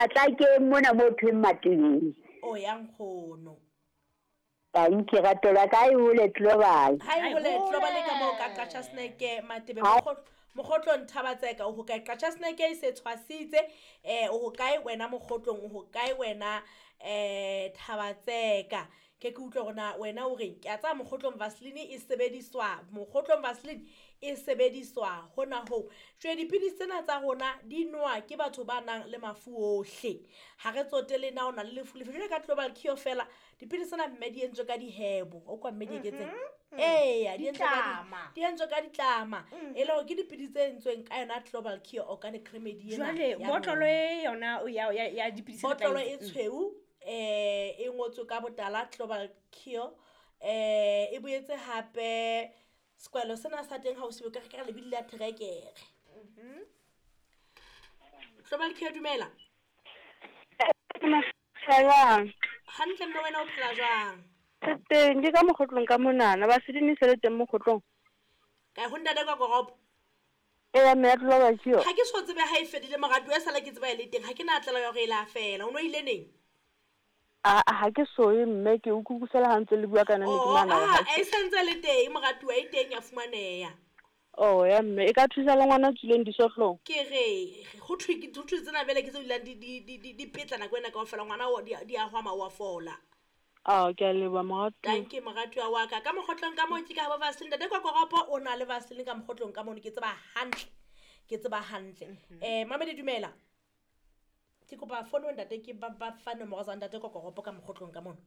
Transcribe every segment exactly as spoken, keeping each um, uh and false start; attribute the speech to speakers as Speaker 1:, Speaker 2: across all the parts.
Speaker 1: Matlakeng mona mo thweng Matebeng.
Speaker 2: O ya nkgono.
Speaker 1: Tanki rato la ka e hole global.
Speaker 2: Ha e hole global ka moo ka Qacha Snack Matebe Mokgotlong Thabatseka o hokae? Qacha Snack e se tshwasitse eh o hokae wena Mokgotlong, o hokae wena eh Thabatseka? Ke ke utlwe hore na wena o reng. Ke a tsaya Mokgotlong Vaseline e sebediswa, Mokgotlong Vaseline e sebediswa hona hoo. Jwale dipidisi tsena tsa rona di nowa ke batho ba nang le mafu ohle. Ha re tsotelle na o na le lefu lefe. Jwale ka Global Cure fela dipidisi tsena mme di entswe ka dihebo. O kwa mme di eketseng? Eya, di entswe ka di entswe ka ditlama. E le hore ke dipidisi tse entsweng ka yona Global Cure organic remedy ena.
Speaker 3: Jwale botlolo e yona ya ya dipidisi
Speaker 2: botlolo e tshweu eh e ngotswe ka botala Global Cure eh e boetse hape sekwalo sena sa teng ha o se ka re lebidi la trekere. Mhm. Global Cure dumela.
Speaker 4: Jwang?
Speaker 2: Hantle mme wena o phela jwang?
Speaker 4: Teng ke ka Mokgotlong ka monana ba sedini se le teng Mokgotlong.
Speaker 2: Ka ho ntate ka koropo.
Speaker 4: Eya mme ya Global Cure.
Speaker 2: Ha ke so tsebe ha e fedile moratuwa e sala ke tseba e le teng ha ke na tlela ya hore e la fela. O no ile neng?
Speaker 4: A ha ke soe mme ke utlwisela ha ntse le bua ka nna ne ke nahana
Speaker 2: hore ha e sentse le teng moratuwa e teng ya fumaneha.
Speaker 4: Oh ya mme e ka thusa le ngwana tswileng disohlong.
Speaker 2: Ke re ho thwe ke ho thwe tsena bele ke tse dulang di di di di petla nako ena kaofela ngwana o di di a hwama wa fola.
Speaker 4: Ah ke a leboha moratuwa.
Speaker 2: Thank you moratuwa wa ka. Ka Mokgotlong ka moo ke ka ba Vaseline ntate kwa koropo o na le Vaseline ka Mokgotlong ka mono ke tseba hantle. Ke tseba hantle. Eh mamedi dumela. Ke kopa phone ntate ke ba ba fa nomoro tsa ntate kwa koropo ka Mokgotlong ka mono.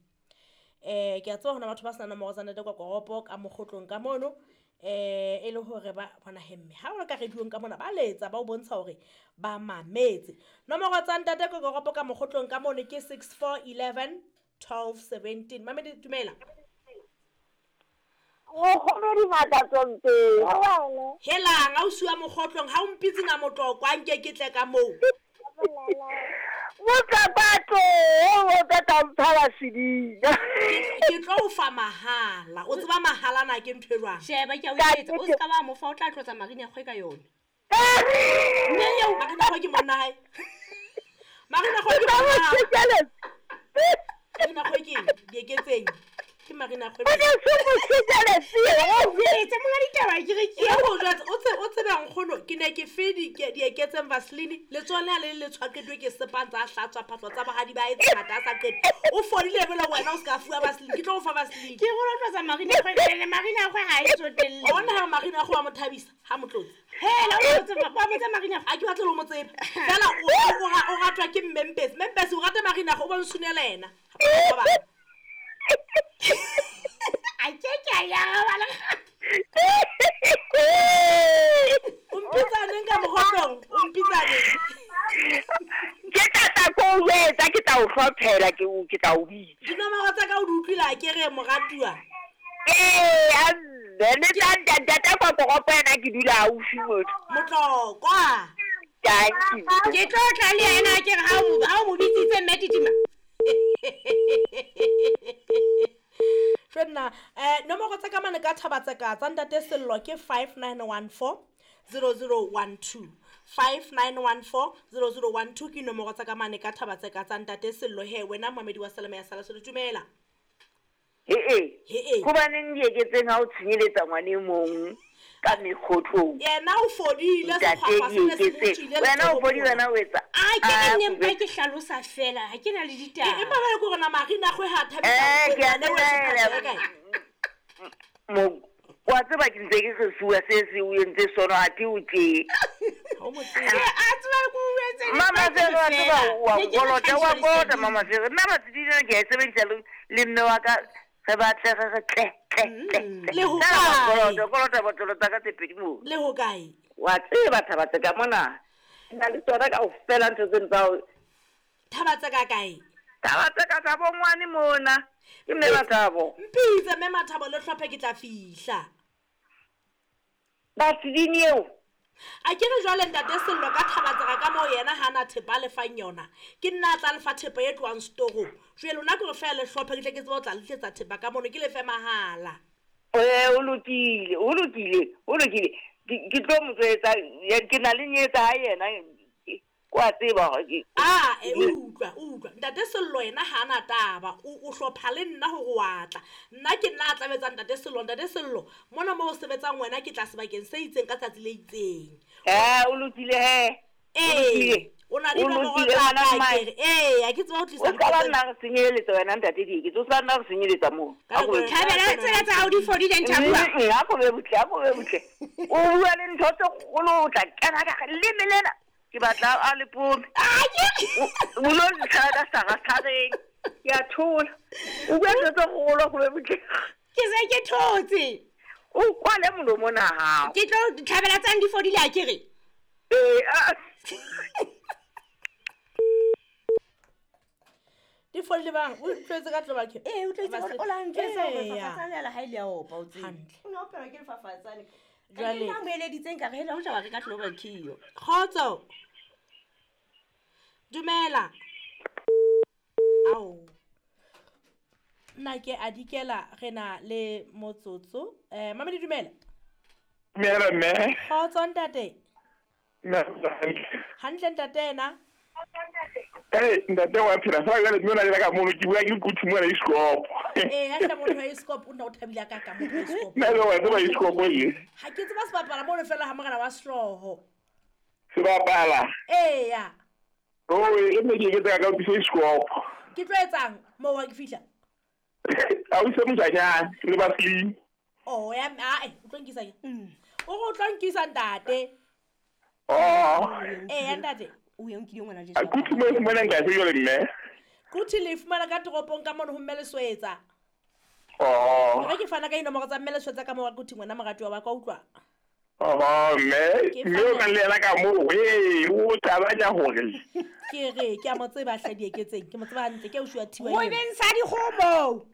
Speaker 2: Eh ke a tseba hona batho ba sena nomoro tsa ntate kwa koropo ka Mokgotlong ka mono. Eh e le hore ba bona hemme ha o ka rediong ka mona ba letsa ba o bontsha hore ba mametse. Nomoro tsa ntate kwa koropo ka Mokgotlong ka mono ke six four eleven twelve seventeen. Mamedi dumela.
Speaker 1: O kgone di matla tsonke.
Speaker 2: Helang a o siwa Mokgotlong ha o mpitse na motlokwa nke ke tle ka moo.
Speaker 1: Motlapato o tla mpha sedina.
Speaker 2: Ke tlo o fa mahala. O tseba mahala na ke ntho e jwang?
Speaker 3: Sheba ke a o etsa o ska ba mo fa o tla tlotsa Marina kgwe ka yona.
Speaker 2: Mme eo Marina kgwe ke monna hae. Marina kgwe ke monna hae. Marina kgwe ke di eketseng. Ke Marina kgwe.
Speaker 1: O ne se mo sejaletse.
Speaker 3: O etse monga ditaba ke re ke.
Speaker 2: E go jwetsa o tse o tsebe nkgono ke ne ke fe di di eketseng Vaseline le tsone le le tshwaqetwe ke sepantsa a hlatswa phatlo tsa bohadi ba e tsata sa qete. O fodile bele wena o ska fuwa Vaseline ke tlo o fa Vaseline.
Speaker 3: Ke go tlotsa Marina kgwe le Marina kgwe ha e tsotelle.
Speaker 2: Ona ha Marina kgwe wa mo thabisa ha motlotse.
Speaker 3: Hela o tsebe ba botsa Marina
Speaker 2: a ke batle lo mo tsebe. Fela o o ratwa ke Mmempesi. Mmempesi o rata Marina kgwe o ba nsunela yena.
Speaker 3: A ke ke ya ba le.
Speaker 2: O mpitsa neng ka Mokgotlong? O mpitsa neng?
Speaker 1: Ke tla ko o etsa ke tla o hlophela ke o ke tla o bitsa.
Speaker 2: Dinomoro tsa ka o di utlwile a ke re moratuwa.
Speaker 1: Eh a mme le tla ntate kwa koropo ena ke dula haufi motho.
Speaker 2: Motlokwa.
Speaker 1: Thank you.
Speaker 3: Ke tlo tla le yena ke re ha o ha o mo bitsitse mme Titima.
Speaker 2: Fenna eh nomoro tsa ka mane ka Thabatseka tsa ntate Sello ke five nine one four zero zero one two five nine one four zero zero one two ke nomoro tsa ka mane ka Thabatseka tsa ntate Sello. He wena mamedi wa Salama ya sala se dumela.
Speaker 1: He e hobaneng di eketseng ha o tshenyeletsa ngwane e mong ka mekgotlong?
Speaker 2: Yena o fodile sekgwapa se se tswile
Speaker 1: wena o fodile wena o etsa
Speaker 3: a ke ne mpa ke hlalosa fela ha ke na le ditaba.
Speaker 2: Empa ba le go rona Marina kgwe ha thabisa
Speaker 1: le wena mo wa tseba ke ntse ke re sua se se o entse sono a ke o tse
Speaker 2: o mo tsebe
Speaker 3: a tseba go etse
Speaker 1: mama se wa tseba wa kolota wa kolota mama se nna ba tsidina ke e sebedisa le mme wa ka re batle re re tle tle tle
Speaker 2: le ho kae
Speaker 1: kolota kolota botlolo tsa ka tse pedi mo
Speaker 2: le ho kae
Speaker 1: wa tseba Thabatseka mona nna le tsona ka ofela ntho tseno tsa
Speaker 2: Thabatseka kae?
Speaker 1: Thabatseka tsa bongwane mona ke mme Mathabo.
Speaker 2: Mpitse mme Mathabo le hlophe ke tla fihla.
Speaker 1: Vaseline eo
Speaker 2: A ke re jwale ntate Sello ka Thabatseka ka moo yena ha na thepa le fang yona. Ke nna a tla lefa thepa e tlohang storong. Jwale lona ke re fela le hlophe ke tle ke tsebe ho tla le tlisetsa thepa ka mono ke lefe mahala.
Speaker 1: Eh o lokile, o lokile, o lokile. Ke tlo mo tswetsa ke na le nyetsa ha yena. Kwa tseba hore ke
Speaker 2: Ah, e utlwa, utlwa. Ntate Sello yena ha ana taba. O o hlopha le nna hore wa tla. Nna ke nna a tlametsang Ntate Sello, Ntate Sello. Mona mo o sebetsang wena ke tla sebakeng se itseng ka tsatsi le itseng.
Speaker 1: Eh, o lokile he.
Speaker 2: Eh, o na le
Speaker 1: O
Speaker 2: nomoro
Speaker 1: lokile,
Speaker 2: tsa
Speaker 1: ngwana
Speaker 2: ka
Speaker 1: mmae.
Speaker 2: ke re. Eh, ha ke tseba ho tlisa
Speaker 1: O ska ba
Speaker 2: ntho tse-
Speaker 1: nna re senyeletsa wena ntate Dieketso, o ska nna re senyeletsa moo.
Speaker 2: Ka
Speaker 1: A ko
Speaker 2: nako
Speaker 1: be-
Speaker 2: e-
Speaker 3: Thabela tsena tsa hao di fodile nthabua.
Speaker 1: Mm, a ko be butle, a ko be butle. O bua le ntho tse kgolo o tla kena ka gare. Leme lena ke batla a le pome. O o lo ntlha ka sara-sareng. Ke a thola. O bua ntho tse kgolo a ko be butle.
Speaker 3: Ke se ke thotse.
Speaker 1: O kwale molomo ona hao.
Speaker 3: Ke tlo thabela tsang di fodile a ke re.
Speaker 1: Ee, a-
Speaker 2: Di fodile bang? O utlwetse ka Global Care?
Speaker 3: Eh, o tletse o la ntjwetsa hore
Speaker 2: Eya.
Speaker 3: fafatsane la hae le a opa o tsebe.
Speaker 2: Hantle.
Speaker 3: O ne opelwa ke lefafatsane.
Speaker 2: Jwale-
Speaker 3: Jwale nna mo eleditseng ka re hela ho tla ba reka Global Care.
Speaker 2: Kgotso. Dumela. Ao. Nna ke a dikela re na le motsotso. Eh, Mamedi dumela.
Speaker 5: Dumela mme.
Speaker 2: Kgotso ntate.
Speaker 5: Mme hantle.
Speaker 2: Hantle ntate ena.
Speaker 5: Eh, ntate wa phela sa jwale mme o na le ka mono ke bua ke kuthi mona iskopo.
Speaker 2: Eh, ya hla motho wa iskop o nna o thabile ka ka motho wa iskop.
Speaker 5: Nna le wa tseba iskopo e.
Speaker 2: Ha ke tseba sebapala mono fela ha morena wa sehlooho.
Speaker 5: Se bapala.
Speaker 2: Eya.
Speaker 5: Oh, e mme ke eketsa ka utlwisa iskopo.
Speaker 2: Ke tlo etsang moo ha ke fihla?
Speaker 5: A o se mojanyana le ba slim.
Speaker 2: Oh, ya ae, o tlo nkisa ke. O re o tlo nkisa ntate.
Speaker 5: Oh.
Speaker 2: Eya ntate.
Speaker 3: O ye o nkile ngwana Jesu.
Speaker 5: A kuthi mo fumana nka se jwale mme.
Speaker 2: Kuthi le fumana ka toropong ka mono ho mme Leswetsa.
Speaker 5: Oh.
Speaker 2: Re ke fana ka dinomoro tsa mme Leswetsa ka moo kuthi ngwana moratuwa wa ka utlwa.
Speaker 5: Oh, mme
Speaker 2: Ke
Speaker 5: mme o
Speaker 2: fana-
Speaker 5: ka le yena ka moo. Hey, o tabanya hore.
Speaker 2: Ke re ke a mo tseba hle Dieketseng, ke mo tseba hantle ke ausi wa Thiwa
Speaker 3: Ho
Speaker 2: ena.
Speaker 3: beng sa dikgomo.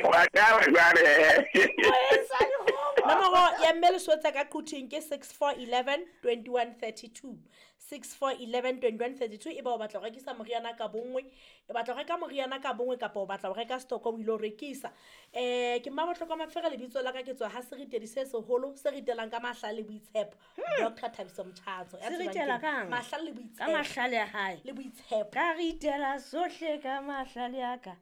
Speaker 5: Wa ka jwale.
Speaker 3: Beng sa dikgomo.
Speaker 2: Nomoro ya mme Leswetsa ka Quthing ke six four eleven twenty one thirty two. six four eleven twenty one thirty two. Eba o batla ho rekisa moriana ka bonngwe, o batla ho reka moriana ka bonngwe kapa o batla ho reka stock o ilo rekisa. Eh ke Mmabohlokwa Mafere lebitso la ka ke tswa ha seritedi se seholo se ritelang ka mahlale le boitshepo. Doctor Thabiso Mthatso. Ya
Speaker 3: Se
Speaker 2: tsebang
Speaker 3: ritela
Speaker 2: ke
Speaker 3: kang?
Speaker 2: Mahlale le
Speaker 3: Ka
Speaker 2: boitshepo.
Speaker 3: mahlale a hae.
Speaker 2: Le boitshepo.
Speaker 3: Ka ritela sohle ka mahlale a ka.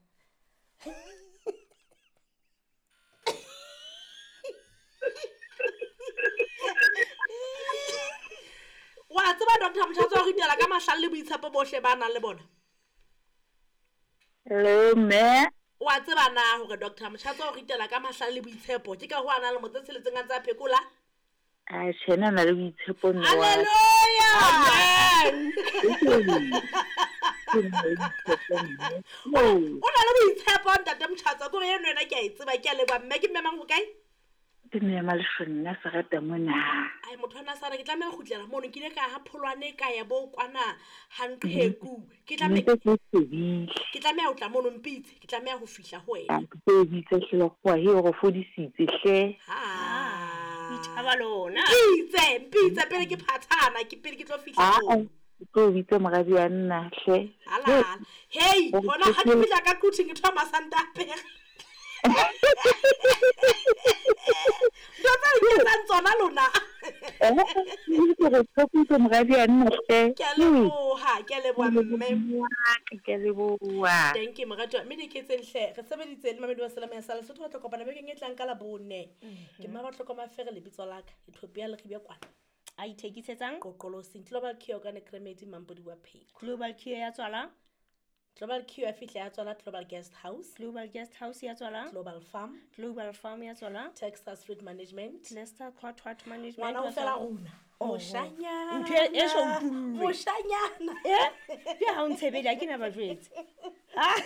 Speaker 2: Wa tseba Doctor Mthatso o ritela ka mahlale le boitshepo bohle ba nang le bona.
Speaker 1: Hello, mme.
Speaker 2: Wa tseba na hore Doctor Mthatso o ritela ka mahlale le boitshepo ke ka ho a nang le motse tsheletseng a ntse a phekola?
Speaker 1: A tjhe, nna na le boitshepo mme wa ka.
Speaker 2: Hallelujah!
Speaker 3: Amen.
Speaker 1: Ke na le boitshepo mme. Oh,
Speaker 2: O na le boitshepo ntate Mthatso ke hore eno ena ke a e tseba ke a leboha mme ke mme mang ho kae?
Speaker 1: Ke mme Maleshonna Serata mona.
Speaker 2: Ai motho ana sana ke tlameha ho kgutlela mono ke ile ka ha Pholwane ka ya bo kwana ha Nqheku. Ke tlameha
Speaker 1: Nnete ke shebile.
Speaker 2: ke tlameha ho tla mono mpitse ke tlameha ho fihla ho wena.
Speaker 1: A ke tlo o bitsa hle lekgowa he o re fodisitse hle.
Speaker 2: Ha.
Speaker 3: Ithaba lona.
Speaker 2: Mpitse mpitse pele ke phathana ke pele ke tlo fihla
Speaker 1: Aa,
Speaker 2: mono.
Speaker 1: ke tlo o bitsa moradi wa nna hle.
Speaker 2: Halala. Hey, hona ha ke fihla ka Quthing ke thoma santa apere. Ntho tse le nketsang tsona lona.
Speaker 1: Eh, ke re tshepise moradi wa nna hle.
Speaker 2: Ke a leboha, ke a leboha mme.
Speaker 1: Ke a leboha.
Speaker 2: Thank you moratuwa. Mme Dieketseng hle, re sebeditse le Mamedi wa Selemo ya sa Lesotho re tla kopana bekeng e tlang ka Labone. Ke Mmabohlokwa Mafere lebitso la ka. Ethiopia le Ribya kwana.
Speaker 3: A ithekisetsang
Speaker 2: Qoqolosing Global Cure Organic Remedy Mampodi wa Pheko.
Speaker 3: Global Cure ya tswala.
Speaker 2: Global Cure ya fihla ya tswala Global Guest House,
Speaker 3: Global Guest House ya tswala.
Speaker 2: Global Farm,
Speaker 3: Global Farm ya tswala.
Speaker 2: Texas Fruit Management.
Speaker 3: Lester Quatwat Management.
Speaker 2: Ngwana o
Speaker 3: wa
Speaker 2: fela
Speaker 3: tswala.
Speaker 2: rona. Moshanyana.
Speaker 3: Ntho e- e so utullwe.
Speaker 2: Moshanyana.
Speaker 3: Eh? Ke ha o ntshebedi ha ke na ba jwetse. Ah.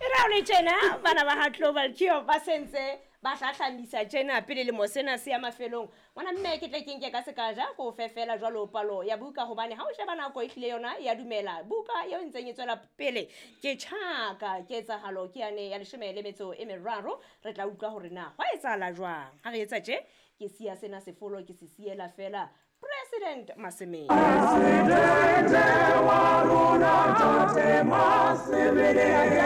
Speaker 3: E ra o le tjena bana ba ha Global Cure ba sentse ba hlahlamisa tjena pele lemo sena se ya mafelong. Ngwana mme ke tle ke nke ka sekaja ko fe fela jwalo palo ya buka hobane ha o sheba nako e hlile yona ya dumela. Buka eo e ntseng e tswela pele ke tjhaka ketsahalo ke yane ya leshome le metso e meraro. Re tla utlwa hore na hwa etsahala jwang. Ha re etsa tje ke siya sena sefolo ke se siela fela President Masemeng.
Speaker 6: Presidente wa rona Tate Masemeng.